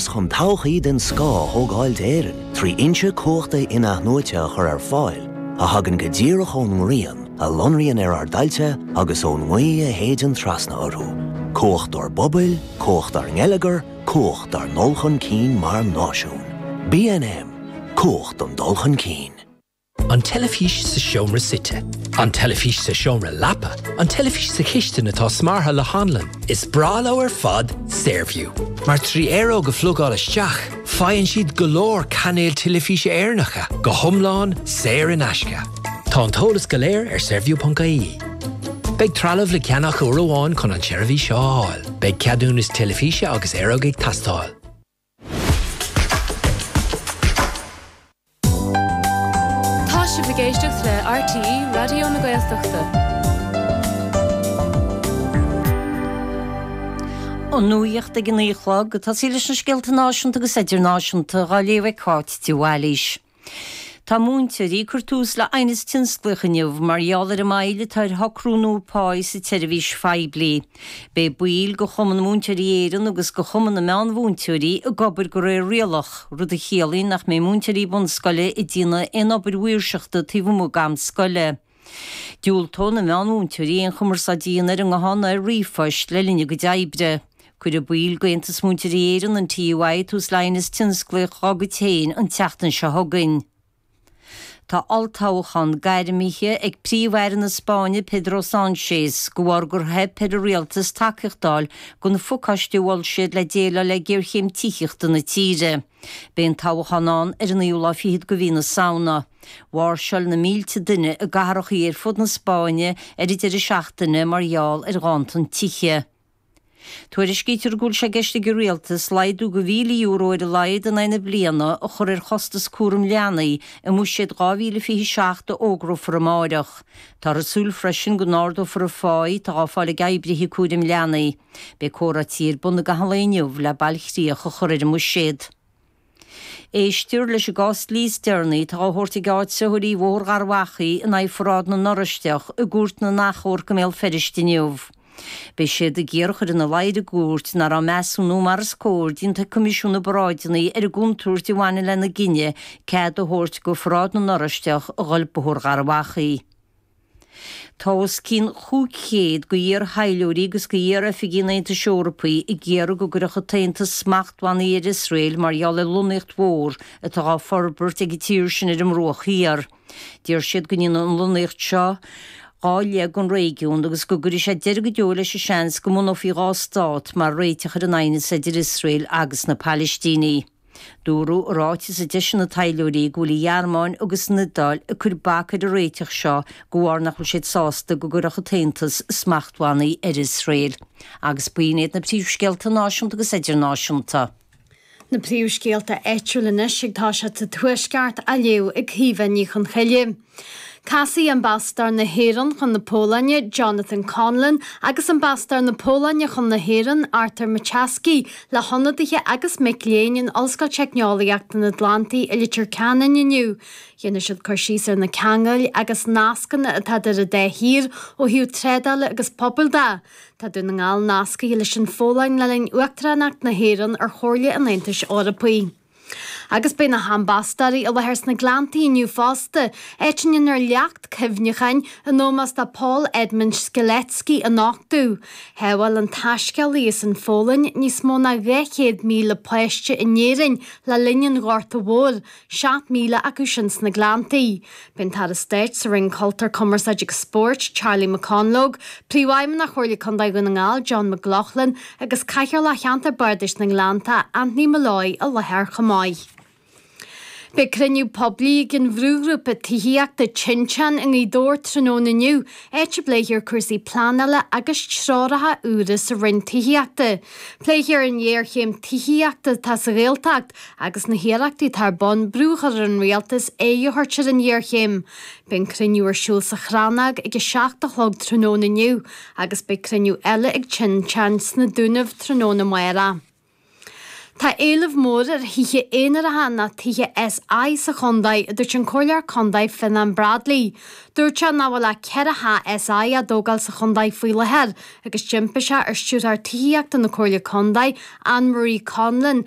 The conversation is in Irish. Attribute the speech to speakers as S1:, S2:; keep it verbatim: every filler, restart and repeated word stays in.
S1: chun todhchaí den scoth a thógáil d'Éirinn, trí fhoinse cumhachta in-athnuaite a chur ar fáil, a thagann go díreach ón ngrian, a lonraíonn ar ár dtailte agus ón ngaoth a shéideann trasna orthu. Cumhacht ár bpobail, cumhacht ár ngeilleagar, cumhacht ár ndul chun cinn mar náisiún. B N M, cumhacht an dul chun cinn.
S2: An teilifís sa seomra suite. An teilifís sa seomra leapa, an teilifís sa chistin atá smeartha le hanlann, is breá leo ar fad Saorview. Mar trí aeróg a phlugáil isteach, faigheann siad go leor cainéil teilifíse Éireannacha go hiomlán saor in aisce. Tá an t-eolas go léir ar saorview ponc I E. Beidh trealamh le ceannach uair amháin chun an tseirbhís seo a fháil, Beidh ceadúnas teilifíse agus aeróg ag teastáil.
S3: Tá sibh ag éisteacht le R T E Raidió na Gaeltachta.
S4: An nuacht ag a naoi a chlog, tá sí leis na scéalta náisiúnta agus idirnáisiúnta á léamh ag Cáit de Bhailís. Tá múinteoirí ag cur tús le haighneas tionsclaíoch inniu mar gheall ar an moill atá ar shocrú nua pá sa tseirbhís phoiblí. Beidh baill de Chumann Múinteoirí Éireann agus de Chumann na Meánmhúinteoirí ag obair de réir rialach, rud a chiallaíonn nach mbeidh múinteoirí bunscoile ag déanamh aon obair mhaoirseachta taobh amuigh d'am scoile. Diúltóidh na meánmhúinteoirí aon chumarsáid a dhéanamh ar an nguthán ar ríomhphost le linn a gcuid oibre. Cuirfidh baill d'Aontas Múinteoirí Éireann, an T U I, tús le haighneas tionsclaíoch dá gcuid féin an tseachtain seo chugainn. Tá olltoghchán gairmithe ag Príomh-Aire na Spáinne Pedro Sánchez de bharr gur theip ar an rialtas tacaíocht a fháil don phacáiste a mhol siad le déileáil le géarchéim tithíochta na tíre. Beidh an toghchán ann ar an naoú lá fichead de mhí na Samhna. Mháirseáil na mílte duine i gcathracha ar fud na Spáinne ar an deireadh seachtaine mar gheall ar ghanntan tithe. Tuairiscítear go bhfuil sé i gceist ag an rialtas laghdú de mhíle euro ar a laghad in aghaidh na bliana a chur ar chostas cúram leanaí i mbuiséad dhá mhíle fiche seacht a fhógrófar amárach. Táthar ag súil freisin go n-ardófar an phá atá á fáil ag oibrithe cúraim leanaí. Beidh comhráití ar bun i gcaitheamh an lae inniu le bailchríoch a chur ar an mbuiséad. Éistear leis an gcás dlí is deireanaí atá á thabhairt ag áitritheoirí Bhóthar Gharbh Achaidh in aghaidh Pharáid na nOráisteach i gCúirt na nAchomharc i mBéal Feirste inniu. Beidh siad ag iarraidh a chur ina luí ar an gcúirt nach raibh measúnú mar is cóir déanta ag Coimisiún na bParáideanna ar an gcontúirt a bhaineann lena gcinneadh cead a thabhairt do Pharáid na nOráisteach a dhul Bóthar Gharbh Achaidh. Tá os cionn cúig chéad d'iar-thaidhleoirí agus d'iar-oifigigh an Aontais Eorpaigh ag iarraidh go gcuirfeadh an tAontas smachtbhannaí ar Iosrael mar gheall ar lonnaíocht mhór atá á forbairt ag an tír sin ar an mBruach Thiar. Deir siad go ndéanfaidh an lonnaíocht seo dhá leath den réigiún agus go gcuirfidh sé deireadh go deo leis an seans go mbunófaí dhá stát mar réiteach ar an aighneas idir Iosrael agus na Palaistínigh. Dúradh i ráiteas a d'eisigh na taidhleoirí go bhfuil an Ghearmáin agus an Iodáil ag cur bac ar an réiteach seo de bharr nach bhfuil siad sásta go gcuirfeadh an tAontas smachtbhannaí ar Iosrael. Agus b'in iad na príomhscéalta náisiúnta agus idirnáisiúnta.
S5: Na príomhscéalta áitiúla anois ag toiseacht sa Tuaisceart á léamh ag Caoimhe Ní Chonchoille. Casfaidh Ambasadóir na hÉireann chun na Polainne, Jonathan Conlon, agus Ambasadóir na Polainne chun na hÉireann, Artur Maciejewski, le hionadaithe agus mic léinn in Ollscoil Teicneolaíochta na nAtlantaigh i Leitir Ceanainn inniu. Dhéanfaidh siad cur síos ar na ceangail agus nascanna atá idir an dá thír ó thaobh trádála agus pobail de. Tá Dún na nGall nascaithe leis an Pholainn le linn Uachtaránacht na hÉireann ar Chomhairle an Aontais Eorpaigh. Agus beidh na hambasadóirí i láthair sna Gleanntaí inniu fosta, áit a ndéanfar leacht cuimhneacháin in ómós do Paul Edmund Strzelecki a nochtadh. Shábháil an taiscéalaí as an Pholainn níos mó ná dhá chéad míle páiste in Éirinn le linn an Ghorta Mhóir, seacht míle acu sin sna Gleanntaí. Beidh an tAire Stáit sa Roinn Cultúir, Cumarsáide agus Spóirt, Charlie McConalogue, Príomhfheidhmeannach Chomhairle Contae Dhún na nGall, John McLaughlin, agus Cathaoirleach Cheantar Bardais na nGleannta, Anthony Molloy, i láthair chomh maith. Beidh cruinniú poiblí ag an bhrúghrúpa tithíochta Tinteán i nGaoth Dobhair tráthnóna inniu, áit a bpléifear cúrsaí pleanála agus treoracha úra sa Roinn Tithíochta. Pléifear an ghéarchéim tithíochta atá sa Ghaeltacht agus na hiarrachtaí atá ar bun brú a chur ar an rialtas aghaidh a thabhairt ar an ghéarchéim. Beidh an cruinniú ar siúl sa Chrannóg ag a seacht a chlog tráthnóna inniu agus beidh cruinniú eile ag Tinteán sna Dúnaibh tráthnóna amárach. Tá éileamh mór ar thithe aonaracha nó tithe SI sa chontae a dúirt an Comhairleoir Contae Fionnán Bradley. Dúirt sé nach bhfuil ach ceithre theach SI á dtógáil sa chontae faoi láthair agus d'impigh sé ar stiúrthóir tithíochta na Comhairle Contae, Anne Marie Conlon,